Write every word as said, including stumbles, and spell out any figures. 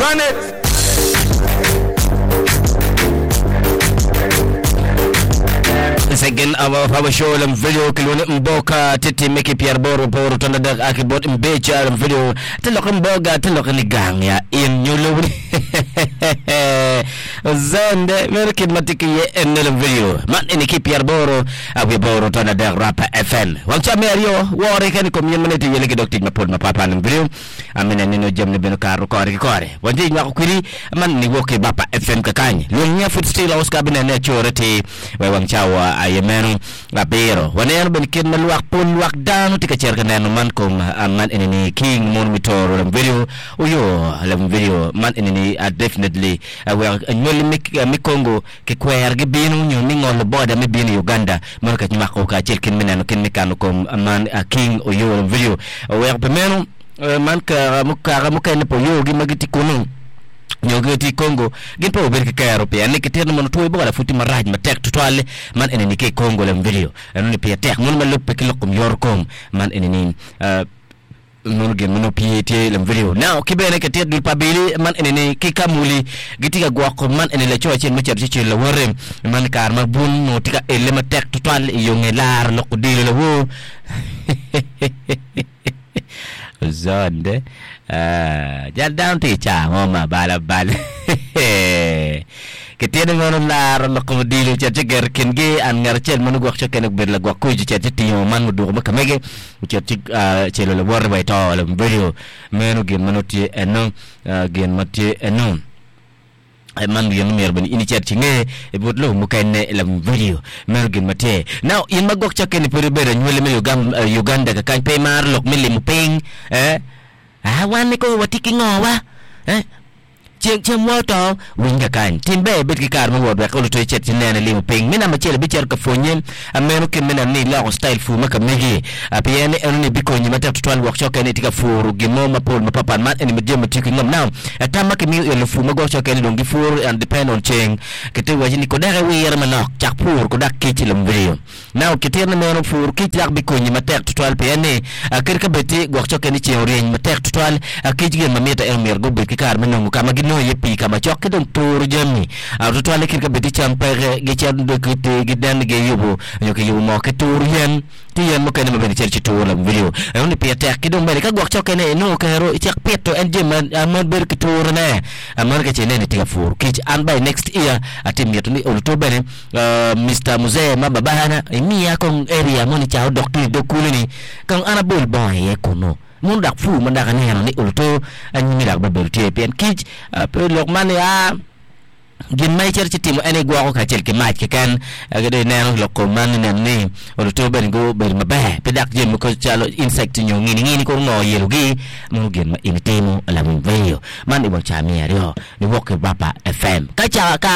Run it! Second hour of our show lam video kilwoni mboka titi meki pier boro boro tonda dak aki bot mbecha lam video te loko mboga te loko ni gang ya in nyulo zende mero kit ma tye ki iye ene lam video man eni ki pier boro awi boro tonda dak Rapa F M wang ca me aryo wore keni kom yen mane ti yele ki dok tic mapol mapatpat lam video amine nino jamni beno karo kore ki kore wanji nywako kwiri man ni wok ki Rapa F M kakany luong nya food still Oscar binene acore ti we wang cawa aye meno abiro waneno bene kit ma lwak pol lwak dano tye ka cito ka neno man kom ah, man eni ni King mono mi toro lam video oyo lam video man eni ni ah, definitely ah, wek anywali mi, ah, mi Congo kikwero gibino nyo mi ngolo boda me bino i Uganda mono ka nywako kacel kin me neno kin me kano kom ah, man ah, King oyo lam video wek pi meno eh, man kaka kaka mukene po yogi ma gitye kunu nyo gitye i Congo gin pe obedo ki kero pien ni kitito ni mono two Ebola pud tye marac matek tutwal man eni ni ki i Congo lam video eno ni pire tek mono ma lubbe ki lok kom yoro kom man eni ni uh, mono gin ma nongo pye tye lam video now ki bene kitito dul pa abili man eni ni ki kamuli gitye ka gwoko man eni laco acel ma ocito ci celo lawote man kare ma bun nongo tye ka ele matek tutwal i yo nge laro lok odilo lawor zonde ah, jal dano tye i caa mo ma abala abala kitino mono laro lok kom odilo ocito ci geto kingi an ngat acel ma nongo gwok cokene obedo lagwok kuc ocito ci tingo man muduko ma kamege ocito ci ah, celo lawote wa i to lam video meno gin ma nongo tye eno ah, gin ma tye eno. Eh, man gin myero bene in icit ci nge i but lobo mukene lam video meno gin ma tye now in ma gwok cakke ni pud ibedo anywali me Uganda, Uganda kakany pe imaro lok me limo piny eh? Ah, wan ni ko watye ki ngowa eh? Ceng cemwa oto winy kakany tim ber ibed ki kare me wot wek oluto icit ci nene limo piny me namba acel ibicito ka pwonye ameno kit me neno ni iloko style pur ma ka megi Ah, pien ni eno ni bikonyi matek tutwal wok cokke ni itye ka puro gin mo mapol mapapat man eni jami ma tiyo ki ngom now tam ma kimiyo i lupur ma gwok cokke ni dong gipuro and depend on ceng kite waci ni kodek iwire manok cak pur kodak kic i lam video now kitito ni meno pur kic dak bikonyi matek tutwal pien ni ah, kadi ka bed ti gwok cokke ni ceng oryeny matek tutwal ah, kic gin ma mitte en myero gubed ki kare me nongo ka ma ginongo iye pii ka ma cok ki dong turo jami Ah, tutwal kadi ka bed ti cam peke gicito giden giyubo nyo kiyubo moo ki turo yen ti yen mukene ma bene cito ci turo lam video eno ni pire tek ki dong bene ka gwok cokke ne inongo kero icak pito en jami ma ah, ma bedo ki turone Ah, mano ka ce ineno itye ka puro kic an by next year atye mito ni oluto bene ah, Mister Muzee ma babana imiya kong area moni ca odok tung i dog kulu ni kong an abol bongo iye kunu mono dak pur ma dak aneno ni oluto anyimi dak bebedo tye pien kic ah, pe lok man ni a gin ma icito ci timo en igwoko kacel ki mac keken. Eh, dong ineno lok kom man ineno ni oluto bene gubedo maber pe dak jami mogo calo insect nyo ngini ngini koro ngo yelogi mono gin ma in itimo lam video man i wang ca miya aryo niwok ki Rapa F M ka ca ka